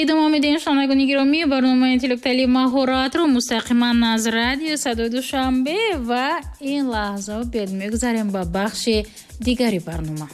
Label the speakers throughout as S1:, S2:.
S1: Идома медиҳем, шунавандагони гиромӣ, барномаи интеллектуалии маҳоратро мустақиман аз радио Садои Душанбе ва ин лаҳза биёд мегузарем ба бахши дигари барнома.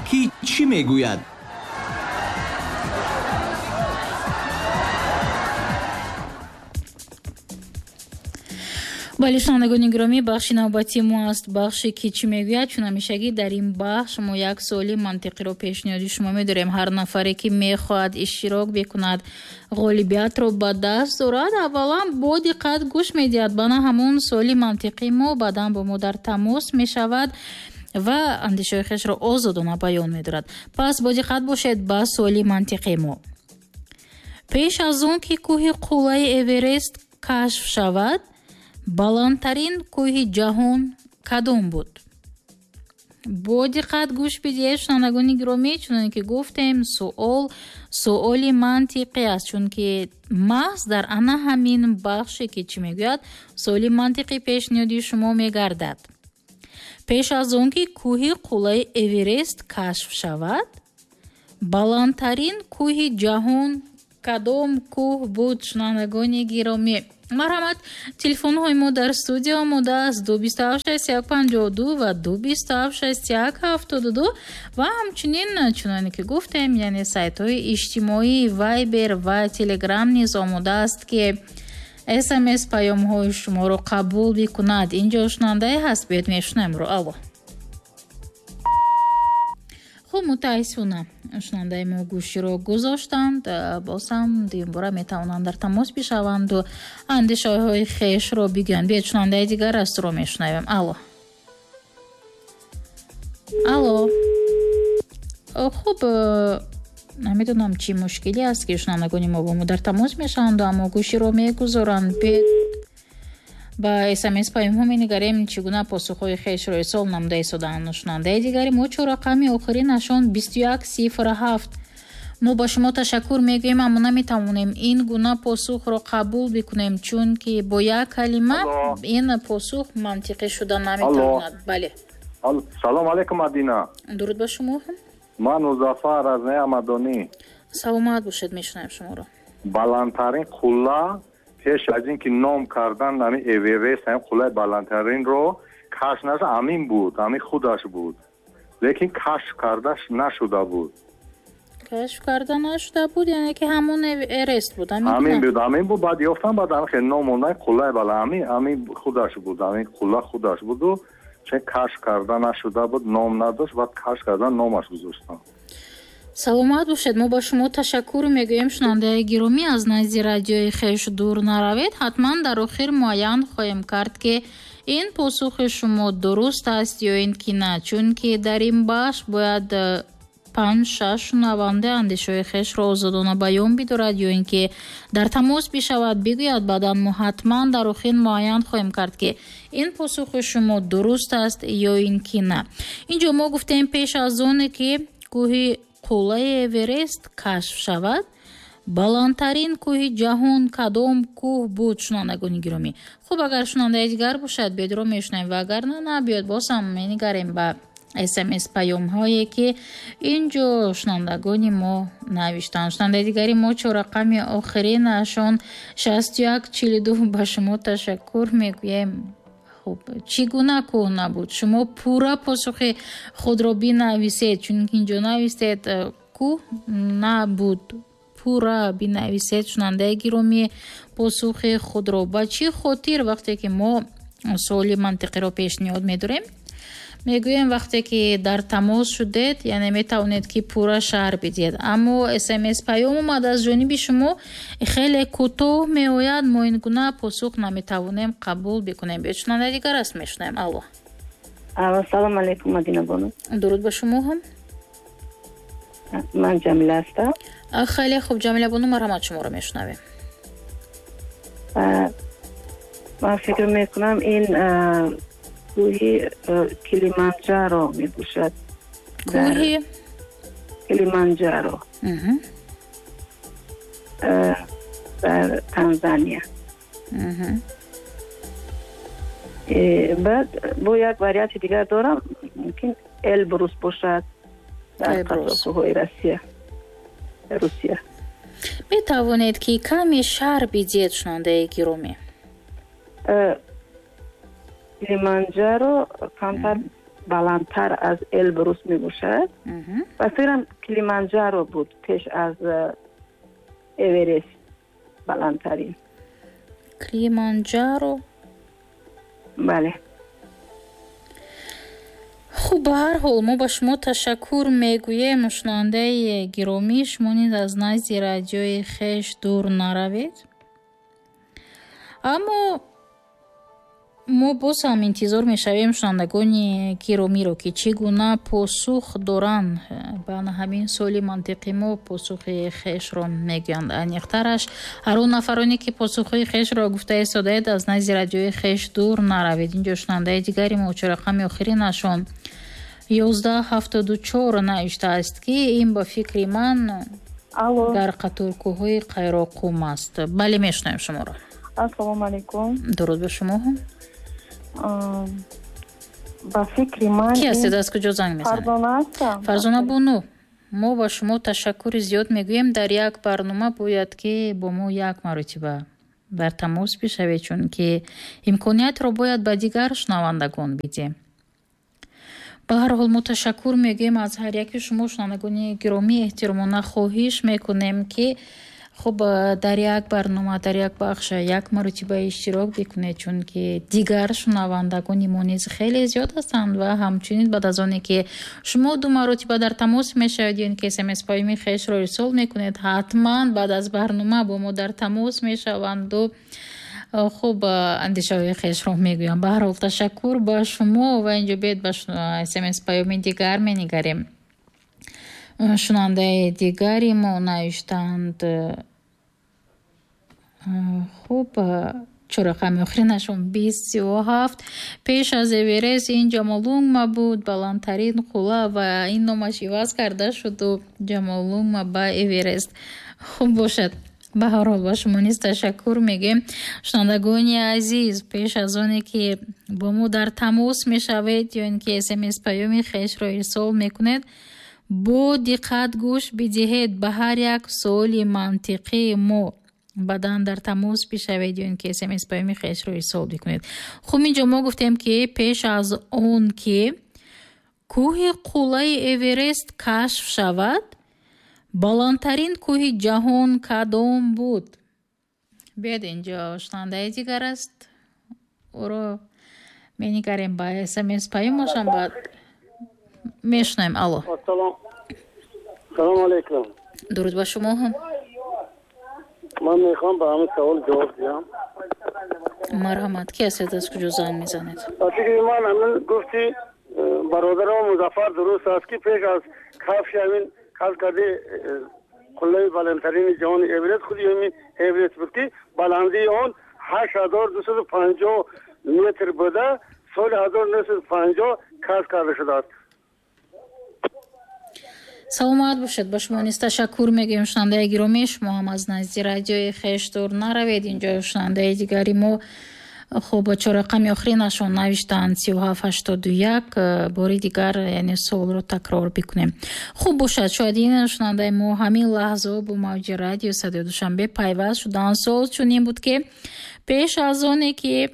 S2: Ки чӣ мегӯяд?
S1: Бале, шунавандагони гиромӣ, бахши навбатии мо аст бахше ки чӣ мегӯяд. Чун ҳамешагӣ дар ин бахш мо як суоли мантиқиро пешниҳоди шумо медорем. Ҳар нафаре ки мехоҳад иштирок бикунад, ғолибиятро ба даст дорад, аввалан бо диққат гӯш медиҳад ба на ҳамон суоли мантиқии мо, баъдан бо мо дар тамос мешавад ва андешаҳои хешро озодона баён медорад. Пас бо диққат бошед ба суоли мантиқии мо. Пеш аз он ки кӯҳи қуллаи Эверест кашф шавад, баландтарин кӯҳи ҷаҳон кадом буд? Бо диққат гӯш бидиҳед, шунавандагони гиромӣ. Чуноне ки гуфтем, суол суоли мантиқӣ аст, чунки маҳз дар ана ҳамин бахше ки чӣ мегӯяд, суоли мантиқӣ пешниҳоди шумо мегардад. Пеш аз он ки кӯҳи қуллаи Эверест кашф шавад, баландтарин кӯҳи ҷаҳон кадом кӯҳ буд, шунавандагони гиромӣ? Марҳамат, телефонҳои мо дар студия омода аст: 227 61 52 ва 227 61 72 ва ҳамчунин, чуноне ки гуфтем, яъне сайтҳои иҷтимоӣ Вайбер ва Телеграм низ омода аст, ки СМС паёмҳои шуморо қабул бикунад. Инҷо шунавандае ҳаст, биёед мешунавемро. Алло. Хуб, мутаассифона, шунавандаи мо гӯширо гузоштанд. Боз ҳам дуюмбора метавонанд дар тамос бишаванду андешаҳои хешро бигӯянд. Биёед, шунавандаи дигар астро мешунавем. Алло, алло. Хуб, намедонам, чӣ мушкиле аст, ки шунавандагони мо бо мо дар тамос мешаванду, аммо гӯширо мегузоранд. Биёед, ба СМС паёмҳо менигарем, чӣ гуна посухҳои хешро ирсол намуда истодаанд. Шунавандаи дигари мо, чоррақами охиринашон 2107, мо ба шумо ташаккур мегӯем, аммо наметавонем ин гуна посухро қабул бикунем, чунки бо як калима ин посух мантиқӣ шуда наметавонад. Бале.
S3: Салом алейкум, Мадина.
S1: Дуруд ба шумо.
S3: Ман Музаффар аз Неамадонӣ.
S1: Саломат бошед, мешунавем шуморо.
S3: Баландтарин қулла пеш аз ин ки ном кардан ҳамин Эверест, ҳамин қуллаи баландтаринро кашф нашуда, ҳамин буд, ҳамин худаш буд, лекин кашф карда нашуда буд.
S1: Кашф карда нашуда буд, яъне ки ҳамон Эверест буд?
S3: Ҳамин буд, ҳамин буд. Баъд ёфтан, баъд ҳамин хел ном мондан қуллаи баланд, ҳамин худаш буд, ҳамин қулла худаш буду, чун кашф карда нашуда буд, ном надошт, баъд кашф кардан номаш гузоштанд.
S1: Саломат бошед, мо ба шумо ташаккур мегӯем. Шунавандаи гиромӣ, аз назди радиои хеш дур наравед, ҳатман дар охир муайян хоҳем кард, ки ин посухи шумо дуруст аст ё ин ки на, чунки дар ин бахш бояд панҷ, шаш шунаванда андешаҳои хешро озодона баён бидорад ё ин ки дар тамос бишавад, бигӯяд. Баъдан мо ҳатман дар охир муайян хоҳем кард, ки ин посухи шумо дуруст аст ё ин ки на. Инҷо мо гуфтем, пеш аз оне ки кӯҳи қуллаи Эверест кашф шавад, баландтарин кӯҳи ҷаҳон кадом кӯҳ буд, шунавандагони гиромӣ? Хуб, агар шунавандаи дигар бошад, биёдро мешунавем ва агар на, на, биёд боз ҳам менигарем ба СМС паёмҳое, ки ин ҷо шунавандагони мо навиштанд. Шунавандаи дигари мо, чоррақами охиринашон 6142, ба шумо ташаккур мегӯем. Хуб, чӣ гуна кӯҳ набуд? Шумо пурра посухи худро бинависед, чунки инҷо навистед кӯҳ набуд. Пурра бинависед, шунавандаи гиромӣ, посухи худро. Ба чӣ хотир вақте ки мо суоли мантиқиро пешниҳод медорем, мегӯем, вақте ки дар тамос шудед, яъне метавонед, ки пурра шарҳ бидиҳед, аммо СМС паём омад аз ҷониби шумо, хеле кӯтоҳ меояд, мо ин гуна посух наметавонем қабул бикунем. Биёед, шунавандаи дигар аст, мешунавем. Алло.
S4: Салом алейкум, Мадина бону.
S1: Дуруд ба шумо ҳам.
S4: Ман Ҷамила ҳастам.
S1: Хеле хуб, Ҷамила бону, марҳамат, шуморо мешунавем.
S4: Ман фикр мекунам, ин кӯҳи Килиманҷаро мебошад.
S1: Кӯҳи
S4: Килиманҷаро дар Танзания. Баъд бо як варианти дигар дорам, мумкин. Элбрус бошад дар қаторкӯҳҳои Россия. Русия.
S1: Метавонед ки каме шарҳ бидиҳед, шунавандаи гиромӣ?
S4: Килиманҷаро камтар баландтар аз Элбрус мебошад. Ба фикрам, Килиманҷаро буд пеш аз Эверест баландтарин.
S1: Килиманҷаро?
S4: Бале.
S1: Хуб, ба ҳар ҳол, мо ба шумо ташаккур мегӯем, шунавандаи гиромӣ. Шумо низ аз назди радиои хеш дур наравед. Аммо мо боз ҳам интизор мешавем шунавандагони гиромиро, ки чӣ гуна посух доранд ба ҳамин суоли мантиқи мо, посухи хешро мегӯянд. Аниқтараш, ҳар он нафароне, ки посухҳои хешро гуфта истодаед, аз назди радиои хеш дур наравед. Инҷо шунавандаи дигари мо, чорақами охиринашон 1174, навиштааст, ки ин, ба фикри ман, дар қаторкӯҳҳои Қайроқум аст. Бале, мешунавем шуморо.
S5: Ассалому алайкум.
S1: Дуруд ба шумо.
S5: Ба фикри ман
S1: Ки ҳастед, аз куҷо занг мезанед?
S5: Фарзона ҳастам.
S1: Фарзона бону, мо ба шумо ташаккури зиёд мегӯем. Дар як барнома бояд ки бо мо як маротиба дар тамос бишавед, чунки имкониятро бояд ба дигар шунавандагон бидиҳем. Ба ҳар ҳол, мо ташаккур мегӯем аз ҳар яки шумо, шунавандагони гиромӣ. Эҳтиромона хоҳиш мекунем, ки хуб, дар як барнома, дар як бахш як маротиба иштирок бикунед, чунки дигар шунавандагони мо низ хеле зиёд ҳастанд. Ва ҳамчунин, баъд аз оне ки шумо ду маротиба дар тамос мешавед ё ин ки СМС паёми хешро ирсол мекунед, ҳатман баъд аз барнома бо мо дар тамос мешаванду, хуб, андешаҳои хешро мегӯям. Ба ҳар ҳол, ташаккур ба шумо. Ва инҷо биед ба СМС паёми дигар менигарем. Шунавандаи дигари мо навиштаанд, хуб, чорақами охиринашон 27: пеш аз Эверест ин Ҷамолунгма буд баландтарин қулла ва ин номаш иваз карда шуду Ҷамолунгма ба Эверест. Хуб бошад, ба ҳар ҳол, ба шумо низ ташаккур мегӯем. Шунавандагони азиз, пеш аз оне ки бо мо дар тамос мешавед ё ин ки СМС паёми хешро ирсол мекунед, бо диққат гӯш бидиҳед ба ҳар як суоли мантиқии мо, баъдан дар тамос бишавед ё ин ки СМС паёми хешро ирсол бикунед. Хуб, инҷо мо гуфтем, ки пеш аз он ки кӯҳи қуллаи Эверест кашф шавад, баландтарин кӯҳи ҷаҳон кадом буд? Биёед, инҷо шунавандаи дигар аст, ӯро менигарем ба СМС паёмашам, баъд мешунавем. Алло.
S6: Салому алайкум.
S1: Дуруд ба шумо.
S6: Ман мехоҳам ба ҳамин савол ҷавоб диҳам.
S1: Марҳамат, ки ҳастед, аз куҷо занг мезанед?
S6: Ба фикри ман, ҳамин гуфти бародарам Музаффар дуруст аст, ки пеш аз кашфи ҳамин кашф карди қуллаи баландтарини ҷаҳони Эверест, худи ҳамин Эверест буд, ки баландии он 8250 метр буда, соли 1950 кашф карда шудааст.
S1: Саломат бошед, ба шумо низ ташаккур мегӯем. Шунавандаи гиромӣ, шумо ҳам аз назди радиои хеш дур наравед. Инҷо шунавандаи дигари мо, хуб, чорақами охиринашон навиштаанд 3781. Бори дигар, яъне суолро такрор бикунем. Хуб бошад, шояд ин шунавандаи мо ҳамин лаҳзао бо мавҷи радио Садои Душанбе пайваст шуданд. Суол чунин буд, ки пеш аз оне ки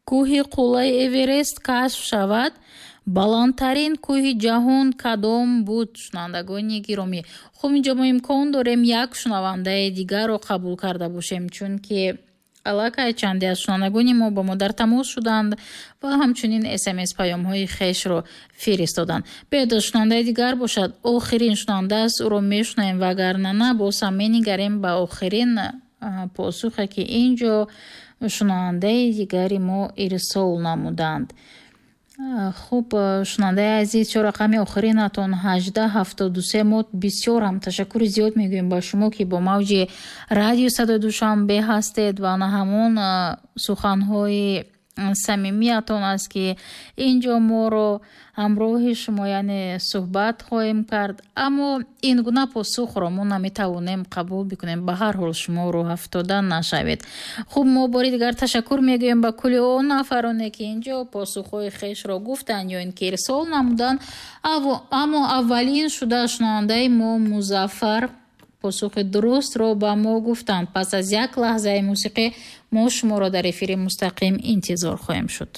S1: кӯҳи қуллаи Эверест кашф шавад, баландтарин кӯҳи ҷаҳон кадом буд, шунавандагони гиромӣ? Хуб, инҷо мо имкон дорем як шунавандаи дигарро қабул карда бошем, чунки аллакай чанде аз шунавандагони мо бо мо дар тамос шуданд ва ҳамчунин СМС паёмҳои хешро фиристоданд. Биёед, шунавандаи дигар бошад, охирин шунаванда аст, ӯро мешунавем ва агарна на, боз ҳам менигарем ба охирин посухе, ки ин ҷо шунавандаи дигари мо ирсол намуданд. Хуб, шунавандаи азиз, чор рақами охиринатон 1873, мо бисёр ҳам ташаккури зиёд мегӯем ба шумо, ки бо мавҷи радио Садои Душанбе ҳастед ва на ҳамон суханҳои Самимиятон аст, ки ин ҷо моро ҳамроҳи шумо, яъне суҳбат хоҳем кард, аммо ин гуна посухро мо наметавонем қабул бикунем. Ба ҳар ҳол, шумо рӯҳафтода нашавед. Хуб, мо бори дигар ташаккур мегӯем ба кулли он нафароне, ки ин ҷо посухҳои хешро гуфтанд ё ин ки ирсол намуданд, аммо аввалин шуда шунавандаи мо Музаффар посухи дурустро ба мо гуфтанд. Пас аз як лаҳзаи мусиқӣ мо шуморо дар эфири мустақим интизор хоҳем шуд.